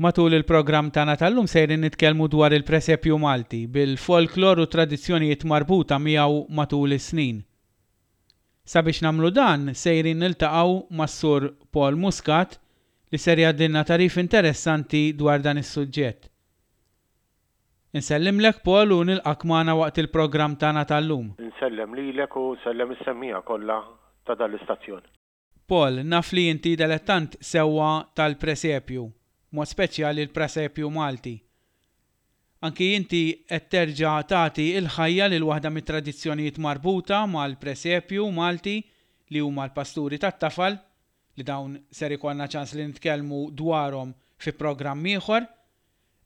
Matul il-programm tagħna tal-lum sejrin nitkellmu dwar il-presepju Malti, bil-folklor u t-tradizzjonijiet marbuta miegħu matul is-snin. Sabiex nagħmlu dan sejrin niltaqgħu mas-Sur Paul Muscat li ser jgħaddilna tagħrif interessanti dwar dan is-suġġett. Insellimlek Paul u nilqgħek magħna waqt il-programm tagħna tal-lum. Insellem lilek u nsellem is-semmiegħa kollha ta' dan l-istazzjon. Paul, naf li inti delettant sewwa tal-presepju, b'mod speċjali l-prasepju Malti. Anki inti qed terġa' tagħti l-ħajja lil waħda mit-tradizzjonijiet marbuta mal-presepju Malti li huma l-pasturi tat-tafal, li dawn ser ikollna ċans li nitkellmu dwarhom fi programm ieħor.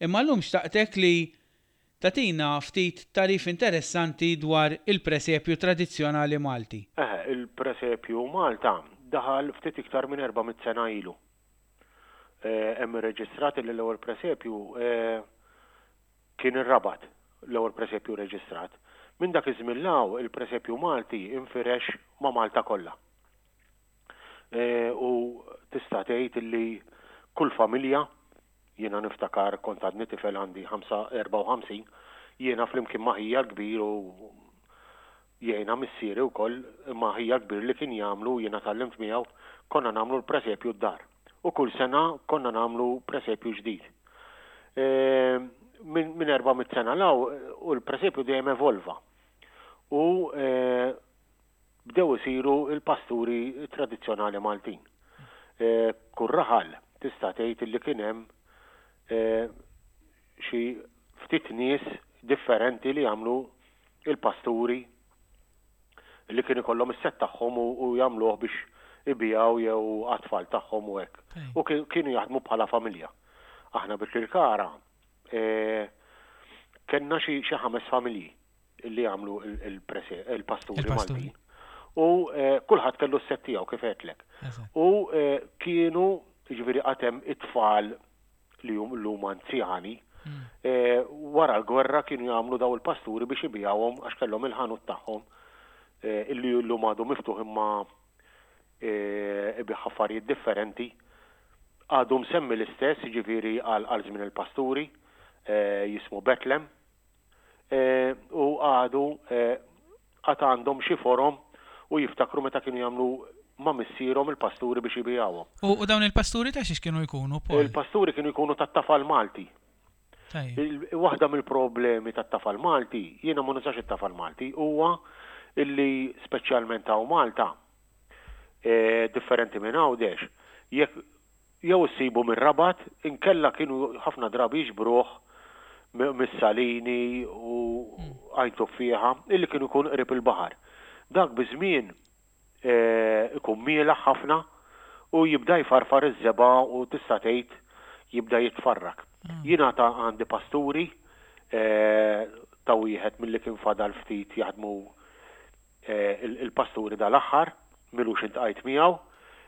Imma llum xtaqtek li tagħtina ftit tagħrif interessanti dwar il-presepju tradizzjonali Malti. Eħe, il-presepju Malta daħal ftit iktar minn 400 sena ilu. Hemm irreġistrat li l-ewwel presepju kien ir-Rabat, l-ewwel presepju reġistrat. Minn dak iż-żmien 'l hawn il-presepju Malti nfirex ma' Malta kollha. U tista' tgħid li kull familja Jiena niftakar kont għadni tifel għandi 54, jiena flimkien ma' ħija l-kbir u jgħinha missieri wkoll, imma ħija l-kbir li kien jagħmlu u jiena tgħallimt miegħu, konna nagħmlu l-presepju d-dar. U kull sena konna nagħmlu presepju ġdid. Minn 400 sena 'l hawn u l-presepju dejjem evolva. U bdew isiru l-pasturi tradizzjonali Maltin. Kull raħal tista' tgħid li kien hemm xi ftit nies differenti li jagħmlu l-pasturi li kien ikollhom is-sett tagħhom u jagħmluh biex ibigħu jew għat-tfal tagħhom u hekk. U kienu jaħdmu bħala familja. Aħna bi Kirkara kellna xi ħames familji. li għamlu il-pasturi Maltin. U eh, kulħadd kellu s-set tiegħu kif għedtlek. U eh, kienu jiġifieri qatem it-tfal li hum llum anzjani, hmm. eh, wara l-gwerra kienu jagħmlu daw il-pasturi biex ibijawhom għax kellhom il-ħanut tagħhom illi llum għadu miftuħ imma ibigħ affarijiet differenti. Għadu msemmi l-istess, jiġifieri għal żmien il-pasturi, jismu Betlem. u għadu għad għandhom xi forom u jiftakru meta kienu jagħmlu ma' missierhom il-pasturi biex ibigħuhom. U dawn il-pasturi ta' xiex kienu jkunu, Paul? Il-pasturi kienu jkunu tat-tafal Malti. Tajjeb. Waħda mill-problemi tat-tafal Malti, jiena ma nużax it-tafal Malti, huwa illi speċjalment hawn Malta, differenti minn Għawdex, jekk Jew issibu mir-Rabat, inkella kienu ħafna drabi jiġbruh mis-Salini u Għajn Tuffieħa, illi kienu jkunu qrib il-baħar. Dak biż-żmien ikun mielaħ ħafna u jibda jfarfar iż-żebgħa u tista' tgħid jibda jitfarrak. Jien għad għandi pasturi ta' wieħed milli kien fadal ftit jaħdmu il-pasturi dal-aħħar, m'ilux intqajt miegħu,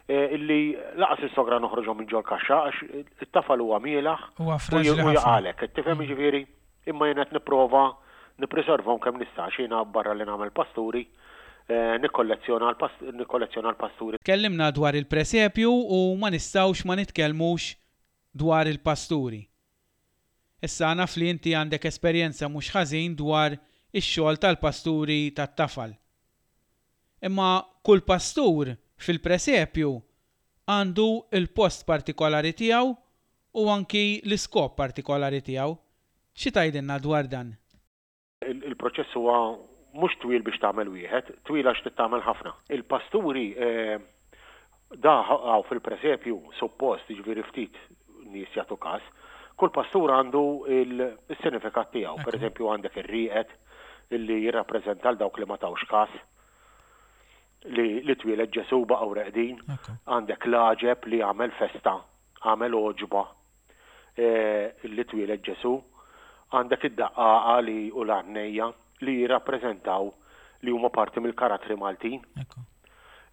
illi laqas is-sogra noħroġhom minn ġol-kaxxa għax it-tafal huwa mielaħ Huwa fraġli u ħafna. jaqalek, tifhem jiġifieri? Imma jien qed nipprova nippriservhom kemm nista' għax jiena barra li nagħmel pasturi, nikkollezzjona nikkollezzjona l-pasturi. Tkellimna dwar il-presepju u ma nistgħux ma nitkellmux dwar il-pasturi. Issa naf li inti għandek esperjenza mhux ħażin dwar ix-xogħol tal-pasturi tat-tafal. Imma kull pastur fil-presepju għandu l-post partikolari tiegħu u anki l-iskop partikolari tiegħu. Xi tgħidilna dwar dan? Il-proċess huwa mhux twil biex tagħmel wieħed, twil għax trid tagħmel ħafna. Il-pasturi da hawn fil-presepju suppost, jiġifieri ftit nies jagħtu każ, kull pastur għandu s-sinifikat tiegħu. Per eżempju għandek ir-rieqed illi jirrappreżenta 'l dawk li ma tawx każ li li twieled Ġesù baqgħu reqdin. Għandek l-għaġeb li għamel festa, għamel għoġba li twieled Ġesù, għandek id-daqqaqa li u l-għannejja li jirrappreżentaw li huma parti mill-karattri Maltin.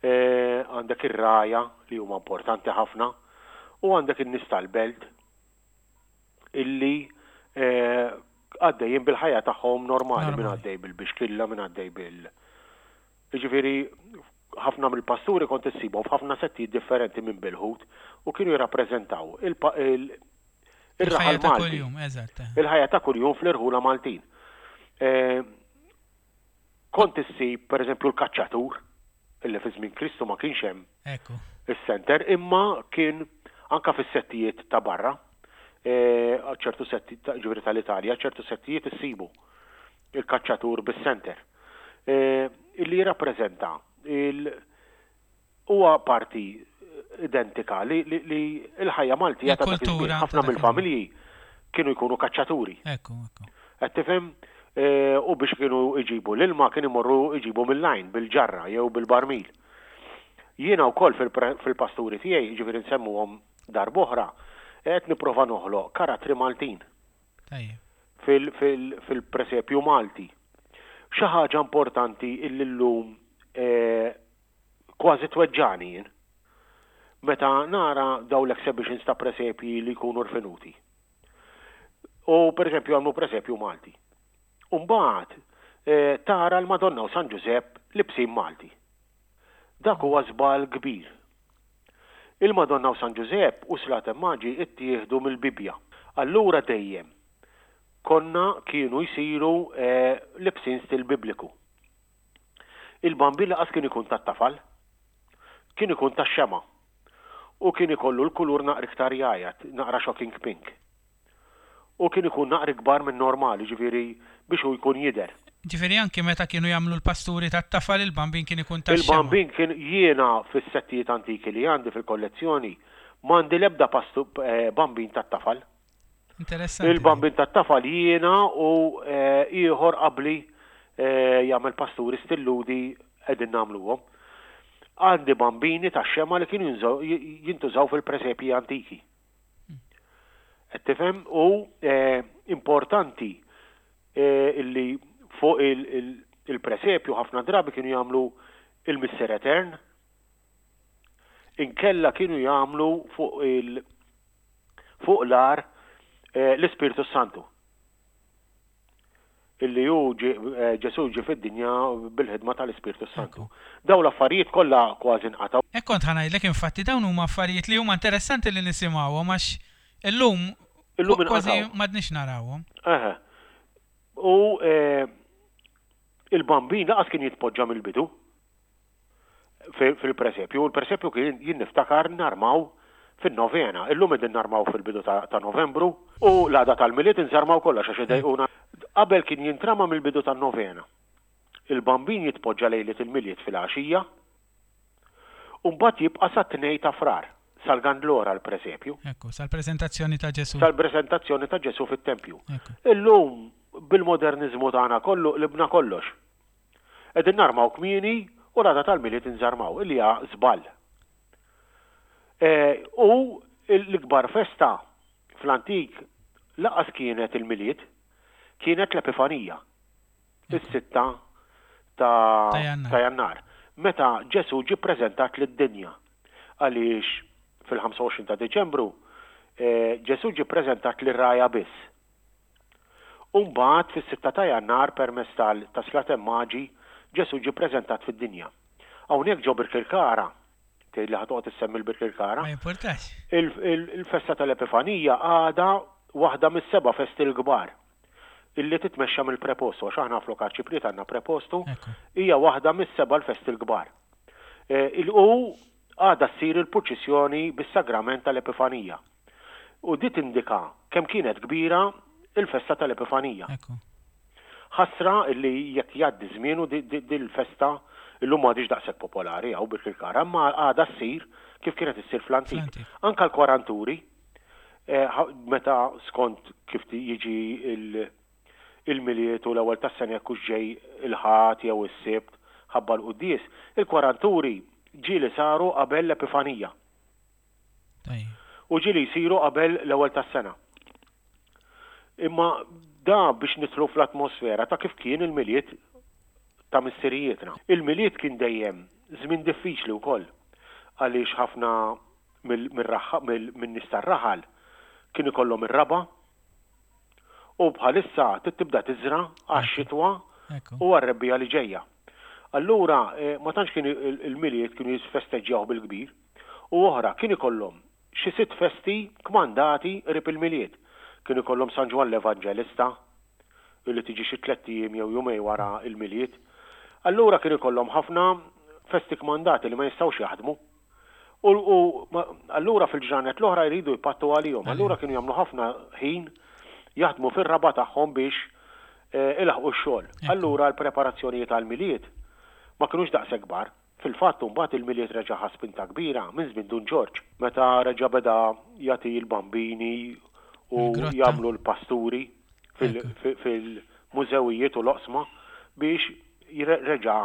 Għandek ir-rgħajja li huma importanti ħafna u għandek in-nies tal-belt illi għaddejjin bil-ħajja tagħhom normali, min għaddej bil-bixkilla, min għaddej bil Jiġifieri ħafna mill-pasturi kont issibhom f'ħafna settijiet differenti minn bil-ħut u kienu jirrappreżentaw. Ir-raħal Il-ħajja ta' Malti. kuljum, eżatt. eh. Il-ħajja ta' kuljum fl-irħula Maltin. Eh, Kont issib, per eżempju, l-kaċċatur, illi fi żmien Kristu ma kienx hemm Ekku. is-center, imma kien anka fis-settijiet ta' barra, eh, ċertu setti ta' ġifieri tal-Italja, ċertu settijiet issibu il-kaċċatur bis-center. Eh, Illi jirrappreżenta il huwa parti identika li, li, li l-ħajja Maltija ta' dak iż-żmien. Il-kultura ta' Ħafna dak mill-familji kienu jkunu kaċċaturi. Ekku, ekku. Qed tifhem? Eh, U biex kienu iġibu l-ilma kien imorru iġibu mill-għajn bil-ġarra jew bil-barmil. Jiena wkoll fil-pre- fil-pasturi tiegħi, jiġifieri nsemmuhom darb'oħra, qed nipprova noħloq karattri Maltin Tajjeb. fil- fil- fil-presepju Malti. Xi ħaġa importanti illi llum eh, kważi tweġġani jien. Meta nara daw l-exhibitions ta' presepji li jkunu rfinuti. U per eżempju għamlu presepju Malti. Umbagħad eh, tara l-Madonna u San Ġużepp libsin Malti. Dak huwa żball kbir. Il-Madonna u San Ġużepp u Slaten Maġi ittieħdu mill-Bibbja. Allura dejjem konna kienu jsiru eh, libsin stil bibliku. Il-bambin laqas kien ikun tat-tafal, kien ikun tax-xema. U kien ikollu l-kulur naqra iktar jgħajat, naqra shocking pink. U kien ikun naqra ikbar minn normali, ġifieri biex hu jkun jidher. Ġifieri anki meta kienu jagħmlu l-pasturi tat-tafal il-bambin kien ikun tax-xema. Il-bambin kien jiena fis-settijiet antiki li għandi fil-kollezzjoni m'għandi l-ebda pastu eh, bambin tat-tafal. Interessanti. Il-bambin tat-tafal jiena u eh, ieħor qabli eh, jagħmel pasturi stilludi qegħdin nagħmluhom. Għandi bambini tax-xema li kienu jinżaw- jintużaw fil-presepji antiki. Qed tifhem u eh, importanti eh, illi fuq il- il- il-presepju ħafna drabi kienu jagħmlu il-Missier Etern, inkella kienu jagħmlu fuq il fuq l-ar eh, l-Ispirtu Santu. Illi hu ġie- eh, Ġesu ġie fid-dinja bil-ħidma tal-Ispirtu Santu. Daw l-affarijiet kollha kważi nqatgħu. Hekk kont ħa ngħidlek infatti dawn huma affarijiet li huma interessanti li nisimgħuhom għax illum Illum kważi inqatgħu. m'għadniex narawhom. Eħe. U eh, il-bambin laqas kien jitpoġġa mill-bidu fi- fil-presepju. U l-presepju kien jien niftakar narmaw fin-novena. Illum qegħdin narmaw fil-bidu ta', ta Novembru u l-għada tal-Milied inżarmaw kollox għax idejquna. Qabel kien jintrama mill-bidu tan-novena. Il-bambin jitpoġġa lejlet il-Milied fil-għaxija u mbagħad jibqa' sat-tnej ta' frar sal-Gandlora l-presepju Ekku, sal-preżentazzjoni ta' Ġesu. sal-prezentazzjoni ta' Ġesu fit-tempju. Ekku. Illum bil-modernizmu tagħna kollu qlibna kollox. Qegħdin narmaw kmieni u l-għada tal-Milied inżarmaw, illi hija żball. Eh, U l-ikbar festa fl-antik laqas kienet il-Milied, kienet l-Epifanija, is-sitta ta' Ta' Jannar. ta' Jannar. Meta Ġesu ġie preżentat lid-dinja għaliex fil-25 ta' Deċembru eh, Ġesu ġie preżentat lir-raja biss. Umbagħad fis-6 ta' Jannar permezz tal ta' Slaten Maġi Ġesu ġie preżentat fid-dinja. Hawnhekk ġo Birkirkara, tgħid li ħatoqgħod issemmi l-Birkirkara, Ma jimpurtax. il- il- il-festa tal-Epifanija għada waħda mis-seba' festi l-kbar illi titmexxa mill-prepostu, għax aħna flok arċipriet għandna prepostu, Ekku. hija waħda mis-seba' l-festi l-kbar. Eh, Il-u għada ssir il-purċissjoni bis-sagrament tal-Epifanija. U di tindika kemm kienet kbira il-festa tal-Epifanija. Ekku. Ħasra illi jekk jgħaddi żmien u di- di di l-festa illum m'għadix daqshekk popolari hawn Birkirkara, imma għada ssir kif kienet issir fl-antik. Fl-antik. Anka l-kwaranturi, eh, ħa- meta skont kif ti- jiġi il- il-miliet u l-ewwel tas-sena jekk hux ġej il-ħadd jew is-sibt ħabba l-quddies, il-kwaranturi ġieli saru qabel l-Epifanija Tajjeb. u ġieli jsiru qabel l-ewwel tas-sena. Imma da biex nidħlu fl-atmosfera ta' kif kien il-miliet ta' missirijietna. Il-miliet kien dejjem żmien diffiċli wkoll għaliex ħafna min-nies tar-raħal kien ikollhom ir-raba u bħalissa trid tibda tiżra għax-xitwa Ekku. u għar-rebbija li ġejja. Allura eh, ma tantx kien il-miliet kienu jisfesteġġjaw bil-kbir u oħra kien ikollhom xi sitt festi kmandati qrib il-Milied. Kien ikollhom San Ġwann l-Evanġelista, illi tiġi xi tlett ijiem jew jumejn wara l-Milied. Allura kien ikollhom ħafna festi kmandati li ma jistgħux jaħdmu. U, u allura fil-ġranet l-oħra jridu jpattu għalihom. Allura kienu jagħmlu ħafna ħin jaħdmu fir-raba' tagħhom biex eh, ilaħqu x-xogħol. Allura l-preparazzjonijiet għall-Milied ma kinux daqshekk kbar. Fil-fatt imbagħad il-Milied reġa' ħa spinta kbira minn żmien Dun Ġorġ, meta reġa' beda jagħti l-bambini u jagħmlu l-pasturi fil-mużewijiet u l-oqsma biex reġa'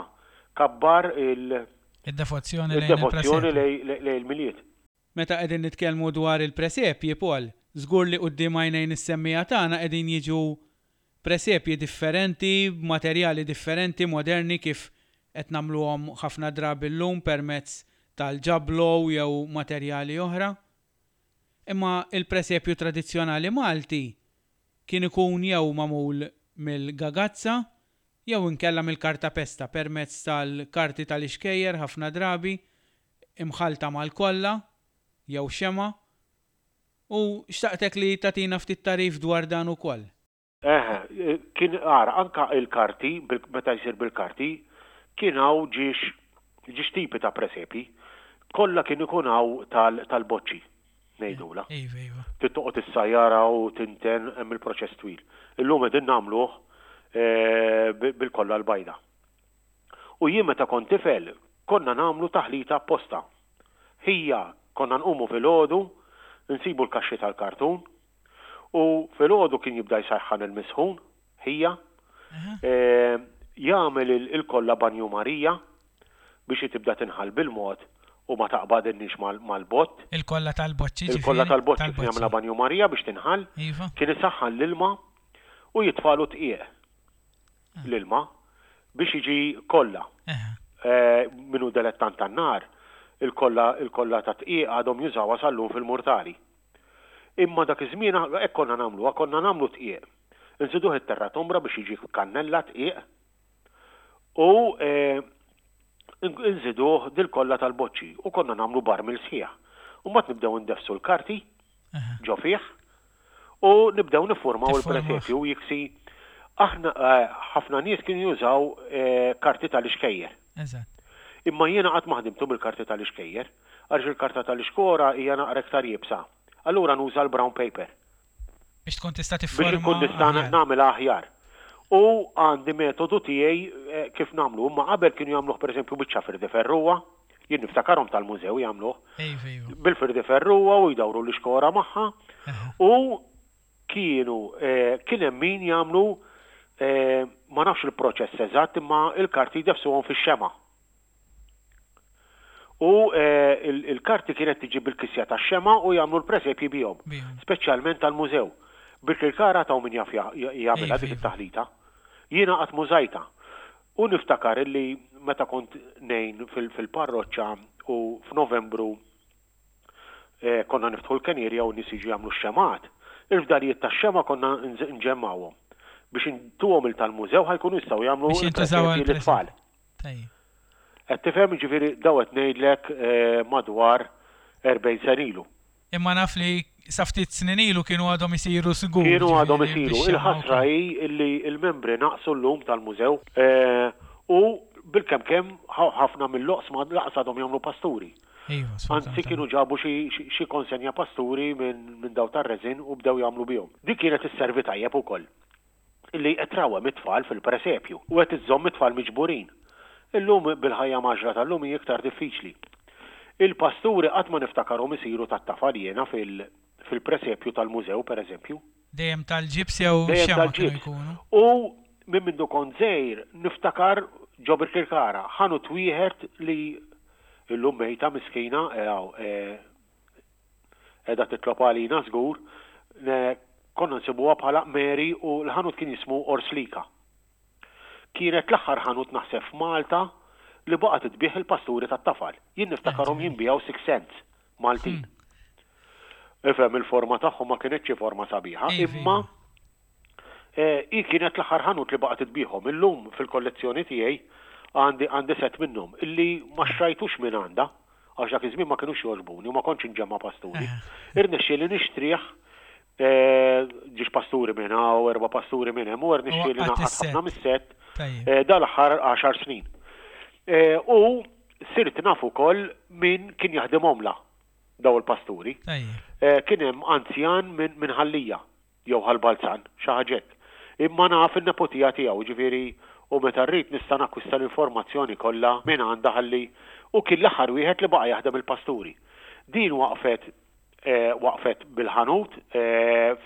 kabbar il- Id-devozzjoni lejn il-Milied. Meta qegħdin nitkellmu dwar il-presepji, Paul, żgur li quddiem għajnejn is-semmiegħa tagħna qegħdin jiġu presepji differenti, b'materjali differenti, moderni kif qed nagħmluhom ħafna drabi llum permezz tal-ġablow jew materjali oħra. Imma il-presepju tradizzjonali Malti kien ikun jew magħmul mill-gagazza jew inkella mill-kartapesta permezz tal-karti tal-ixkejjer ħafna drabi imħallta mal-kolla jew xemgħa U xtaqtek li tagħtina ftit tagħrif dwar dan ukoll. Eħe, kien ara, anka il-karti, meta jsir bil-karti, kien hawn ġiex, ġiex tipi ta' presepji. Kollha kien ikun hawn tal-boċċi, ngħidulha. Iva, iva. Trid toqgħod issajjarha u tinten, hemm il-proċess twil. Illum qegħdin nagħmluh bil-kolla l-bajda. U jien meta kont tifel konna nagħmlu taħlita apposta. Ħija, konna nqumu filgħodu, insibu l-kaxxi tal-kartun, u filgħodu kien jibda jsajħħan il-misħun, ħija, jagħmel il-kolla banju Marija biex hi tibda tinħall bil-mod u ma taqbadilniex mal-bott. Il-kolla tal-boċċi ġifieri? Il-kolla tal-boċċi kien jagħmilha banju Marija biex tinħall. Kien isaħħan l-ilma u jitfagħlu dqiq. l-ilma biex jiġi kolla. Min hu delettant tan-nar, il-kolla il-kolla tat-tqiegħ għadhom jużawha sal-lum fil-murtali. Imma dak iż-żmien hekk konna nagħmluha, konna nagħmlu tqiegħ. Inżiduh it-terra tombra biex jiġi kannella tqiegħ u nżiduh dil-kolla tal-boċċi u konna nagħmlu barmil sħiħ. U mbagħad nibdew indeffsu l-karti ġo fih u nibdew niffurmaw il-presepju u jiksi aħna eh, ħafna nies kienu jużaw eh, karti tal-ixkejjer. Imma jiena qatt ma ħdimtu bil-karti tal-ixkejjer, għaliex il-karta tal-ixkora hija naqra iktar iebsa. Allura nuża l-brown paper. Biex tkun tista' tifforma. Biex inkun nista' nagħmilha aħjar. U għandi metodu tiegħi eh, kif nagħmlu. Imma qabel kienu jagħmluh pereżempju biċċa firdi ferruwa, Jien niftakarhom tal-mużew jagħmluh. Iva, iva. Bil-firdi ferruwa u jdawru l-ixkora magħha. U kienu eh, kien hemm min jagħmlu eh, ma nafx il-proċess eżatt imma il-karti jdefsuhom fix-xema. U eh, il-karti kienet tiġi bil-kisja tax-xema u jagħmlu l-presepji bihom, speċjalment tal-mużew. Bil-kirkara taw min jaf jagħmilha dik iva. it-taħlita. Jiena qatt mużajta. U niftakar illi meta kont ngħin fil-parroċċa u f'Novembru konna niftħu l-kenierja u n-nies jiġu jagħmlu x-xemgħat, il-fdalijiet tax-xemgħa konna nġemmgħuhom biex intuhom 'il tal-mużew ħa jkunu jistgħu jagħmlu l-presepji lit-tfal. Qed tifhem? Jiġifieri dawn qed ngħidlek madwar 40 sena ilu. Imma naf li sa ftit snin ilu kienu għadhom isiru żgur. Kienu għadhom isiru. Il-ħasra hi li l-membri naqsu llum tal-mużew u bilkemm kemm ħafna mill-oqsma lanqas għadhom jagħmlu pasturi. Anzi kienu ġabu xi konsenja pasturi minn dawn tar-resin u bdew jagħmlu bihom. Dik kienet isservi tajjeb ukoll. li qed trawwem it-tfal fil-presepju u qed iżżomm it-tfal miġburin. Illum bil-ħajja mgħaġġla tal-lum hi iktar diffiċli. Il-pasturi qatt ma niftakarhom isiru tat-tafal jiena fil-presepju tal-mużew pereżempju. Dejjem tal-ġibs jew xemgħa kienu jkunu. U minn mindu kont żgħir niftakar ġo Birkirkara, ħanut wieħed li illum mejta miskina, Qiegħda titlob għalina żgur. Konna nsibuha bħala Mary u l-ħanut kien jismu Orslika. Kienet l-aħħar ħanut naħseb f'Malta li baqgħet tbigħ il-pasturi tat-tafal. Jien niftakarhom jinbiegħu six cents Maltin. Ifhem il-forma tagħhom ma kinitx xi forma sabiħa, imma hi kienet l-aħħar ħanut li baqgħet tbigħhom. Illum fil-kollezzjoni tiegħi għandi għandi set minnhom illi ma xtrajtux minn għandha. Għax dak iż-żmien ma kinux jogħġbuni u ma kontx inġemma' pasturi. Irnexxieli nixtrih ġiex pasturi minn hawn, erba' pasturi minn hemm u rnexxieli ngħaqqad ħafna mis-sett dal-aħħar għaxar snin. U sirt naf ukoll min kien jaħdimhomlha daw il-pasturi. Kien hemm anzjan minn Ħal Lija. jew Ħal Balzan, xi ħaġa hekk. Imma naf in-neputija tiegħu, jiġifieri u meta rrid nista' nakkwista l-informazzjoni kollha minn għandha ħalli u kien l-aħħar wieħed li baqa' jaħdem il-pasturi. Din waqfet waqfet bil-ħanut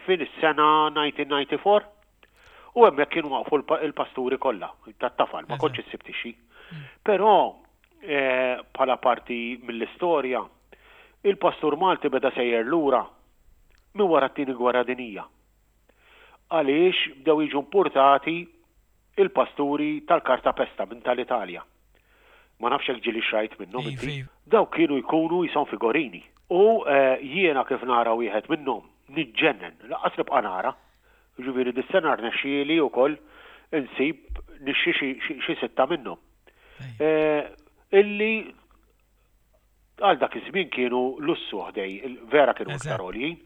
fis-sena 1994 u hemmhekk kienu waqfu l-pasturi kollha tat-tafal, ma kontx issib tixxi. Però bħala parti mill-istorja, il-pastur Malti beda sejjer lura minn wara t-Tieni Gwerra Dinjija. Għaliex bdew jiġu impurtati il-pasturi tal-kartapesta minn tal-Italja. Ma nafx jekk ġieli xrajt minnhom inti. Dawk kienu jkunu qishom figorini. U jiena kif nara wieħed minnhom niġġennen, lanqas nibqa' nara. Jiġifieri dis-sena rnexxieli wkoll insib nixtri xi sitta minnhom. Illi Għal dak iż-żmien kienu lussu ħdej, vera kienu iktar għoljin,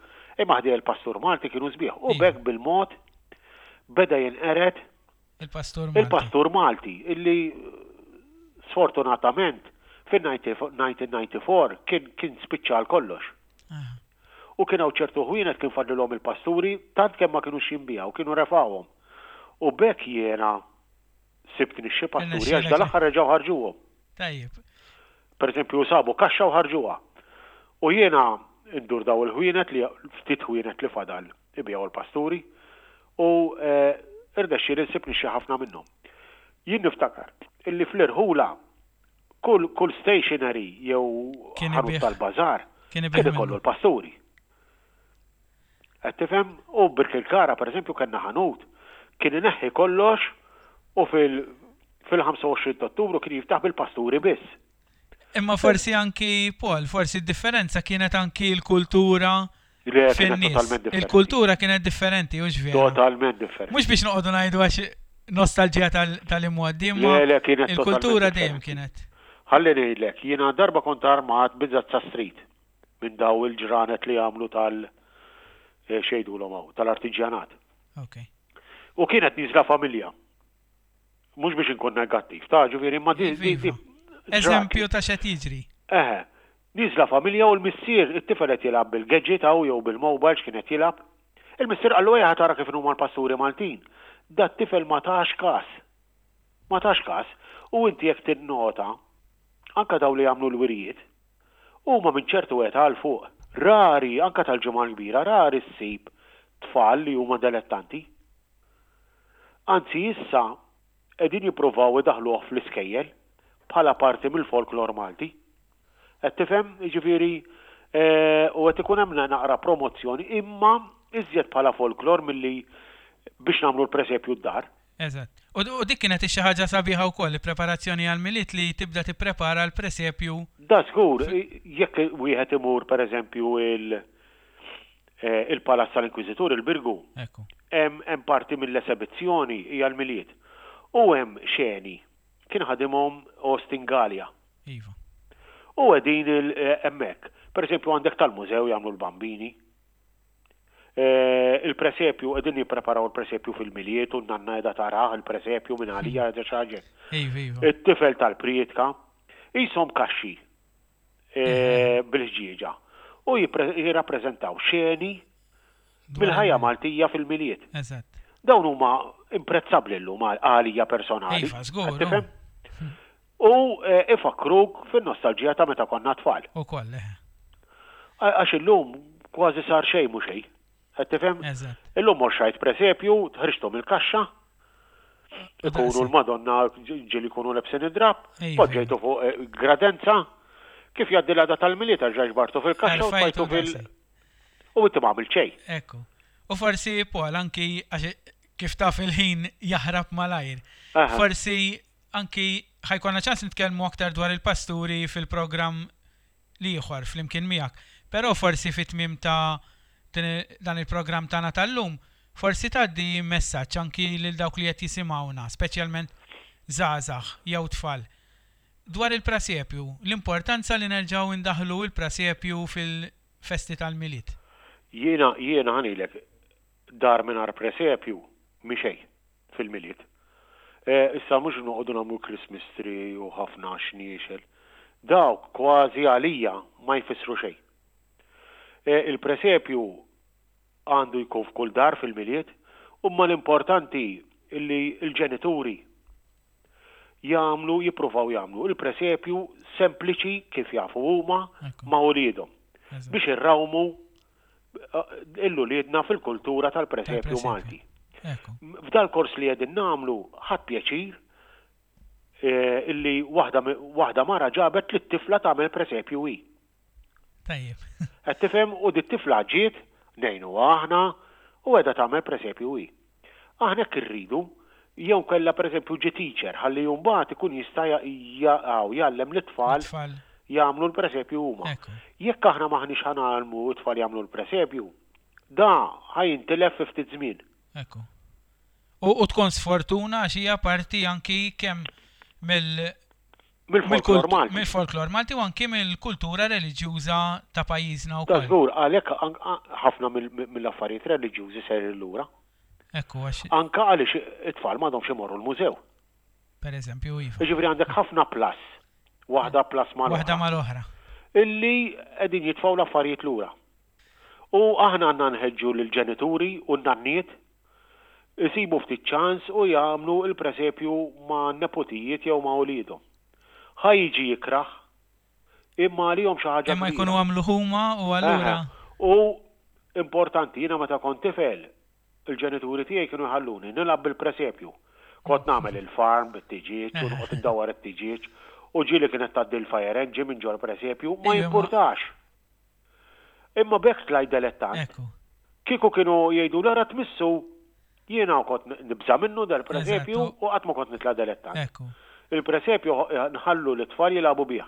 imma ħdej il-pastur Malti kienu sbieħ. U b'hekk bil-mod beda jinqered il-pastur Malti. Il-pastur Malti illi sfortunatament fin-1994 kien kien spiċċa għal kollox. U kien hawn ċertu ħwienet kien fadlilhom il-pasturi tant kemm ma kinux jinbiegħu kienu refgħuhom. U b'hekk jiena sibt nixxi pasturi għax dal-aħħar reġgħu ħarġuhom. Tajjeb. Per eżempju, sabu kaxxa u ħarġuha. U jiena ndur daw il-ħwienet li ftit ħwienet li fadal ibigħu l-pasturi u eh, irnexxieli nsib nixxi ħafna minnhom. Jien niftakar illi fl-irħula kull kull stationery jew ħanut tal-bażar kien ikollu l-pasturi. Qed tifhem? U Birkirkara pereżempju kellna ħanut kien ineħħi kollox u fil fil-25 ta' Ottubru kien jiftaħ bil-pasturi biss. Imma forsi anki, Paul, forsi d-differenza kienet anki l-kultura fin-nies. Il-kultura kienet differenti, hux vera? Totalment differenti. Mhux biex noqogħdu ngħidu għax nostalġija tal-imgħoddi, imma il-kultura dejjem kienet. Ħalli ngħidlek, jiena darba kont armat bi Zazza Street. minn daw il-ġranet li jagħmlu tal x'jgħidulhom hawn, tal-artiġjanat. Okay. U kienet niżla familja. Mhux biex inkun negattiv, ta' ġifieri ma di. Iva, iva. Eżempju ta' x'qed jiġri. Eħe. Niżla familja u l-missier it-tifel qed jilgħab bil-gadget hawn jew bil-mobile x'kien qed jilgħab. Il-missier qallu ejja tara kif huma l-pasturi Maltin. Dat tifel ma tax kas. Ma tax kas. U inti jekk tinnota, anka daw li jagħmlu l-wirjiet, Huma minn ċertu età 'l fuq. Rari, anke tal-Ġimgħa l-Kbira, rari ssib tfal li huma delettanti. Anzi issa qegħdin jippruvaw idaħħluh fl-iskejjel bħala parti mill-folklor Malti. Qed tifhem? Jiġifieri u qed ikun hemm naqra promozzjoni imma iżjed bħala folklor milli biex nagħmlu l-presepju d-dar. Eżatt. U u dik kienet xi ħaġa sabiħa wkoll, il-preparazzjoni għall-Milied li tibda tipprepara l-presepju. Da żgur, jekk wieħed imur pereżempju il il-Palazz tal-Inkwiżitur, il-Birgu, hemm hemm parti mill-esebizzjoni hija l-Milied. U hemm xeni kien ħadimhom Austin Galea. Iva. U qegħdin hemmhekk. Pereżempju għandek tal-mużew jagħmlu l-bambini. Il-presepju, qegħdin jippreparaw il-presepju fil-Milied u n-nanna qiegħda tarah il-presepju minn għalija qiegħda xi ħaġa. Iva, iva. It-tifel tal-prietka qishom kaxxi bil-ħġieġa u jirrappreżentaw xeni mill-ħajja Maltija fil-Milied. Eżatt. Dawn huma imprezzabbli llum għalija personali. Iva, żgur. Tifhem? U ifakkruk fin-nostalġija ta' meta konna tfal. Ukoll, eħe. Għax illum kważi sar xejn mhu xejn. Qed tifhem? Eżatt. Illum mort xrajt presepju, ħriġthom mill-kaxxa, ikunu l-Madonna ġieli jkunu lebsin id-drapp, poġġejtu fuq gradenza, kif jgħaddi l-għada tal-Milied erġa' ġbartu fil-kaxxa u tfajtu fil- U inti ma għamilt xejn. Ekku. U forsi, Paul, anki għax kif taf il-ħin jaħrab malajr. Forsi anki ħa jkollna ċans nitkellmu aktar dwar il-pasturi fil-programm l-ieħor flimkien miegħek. Però forsi fit-tmiem ta' dan il-programm tagħna tal-lum, forsi tgħaddi messaġġ anki lil dawk li qed jisimgħuna, speċjalment żgħażagħ jew tfal. Dwar il-prasepju, l-importanza li nerġgħu ndaħħlu l-prasepju fil-festi tal-Milied. Jiena, jiena ħa ngħidlek, dar mingħajr presepju mhi xejn fil-Milied. Issa mhux noqogħdu nagħmlu Christmas tree u ħafna xniexel. Dawk kważi għalija ma jfissru xejn. Il-presepju għandu jkun f'kull dar fil-Milied, imma l-importanti li l-ġenituri jagħmlu, jippruvaw jagħmlu il-presepju sempliċi kif jafu huma ma' uliedhom biex irrawmu lil uliedna fil-kultura tal-presepju Malti. F'dal kors li qegħdin nagħmlu ħadt pjaċir illi waħda mara ġabet lit-tifla tagħmel presepju hi. Tajjeb. Qed tifhem u dit-tifla ġiet ngħinuha aħna u qiegħda tagħmel presepju hi. Aħna hekk irridu, jew kellha pereżempju ġie teacher ħalli mbagħad ikun jista' jgħallem lit-tfal jagħmlu l-presepju huma. Jekk aħna m'aħniex ħa ngħallmu t-tfal jagħmlu l-presepju, da ħa jintilef fi ftit żmien. Ekku. U tkun sfortuna għax hija parti anki kemm mill Mill-folklor Malti. Mill-folklor Malti u anki mill-kultura reliġjuża ta' pajjiżna wkoll. Ta' żgur, għalhekk ħafna mill-affarijiet reliġjużi sejrin lura. Ekku għax. Anke għaliex it-tfal m'għadhomx imorru l-mużew. Per eżempju, iva. Jiġifieri għandek ħafna plus, waħda plus mal-oħra. Waħda mal-oħra. Illi qegħdin jitfgħu l-affarijiet lura. U aħna għandna nħeġġu lill-ġenituri u n-nanniet Isibu ftit ċans u jagħmlu l-presepju ma' neputijiet jew ma' uliedhom. Ħa jiġi jikrah, imma għalihom xi ħaġa kbira. Imma jkunu għamluh huma u allura. Eħe. U importanti, jiena meta kont tifel, il-ġenituri tiegħi kienu jħalluni nilgħab bil-presepju. Kont nagħmel il-farm bit-tiġieġ u noqgħod indawwar it-tiġieġ u ġieli kienet tgħaddi l-fire engine minn ġol-presepju, ma jimpurtax. Imma b'hekk tlajt delettant. Ekku. Kieku kienu jgħiduli ara tmissu, jiena kont nibża' minnu dal-presepju u qatt ma kont nitla' delettant. Ekku. Il-presepju nħallu lit-tfal jilagħbu bih.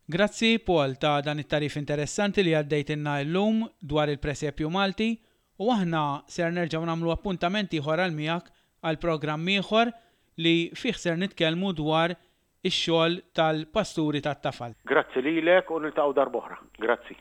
Grazzi Paul ta' dan it-tagħrif interessanti li għaddejtilna illum dwar il-presepju Malti u aħna ser nerġgħu nagħmlu appuntament ieħor għal miegħek għal programm ieħor li fih ser nitkellmu dwar ix-xogħol tal-pasturi tat-tafal. Grazzi lilek u niltaqgħu darb'oħra. Grazzi.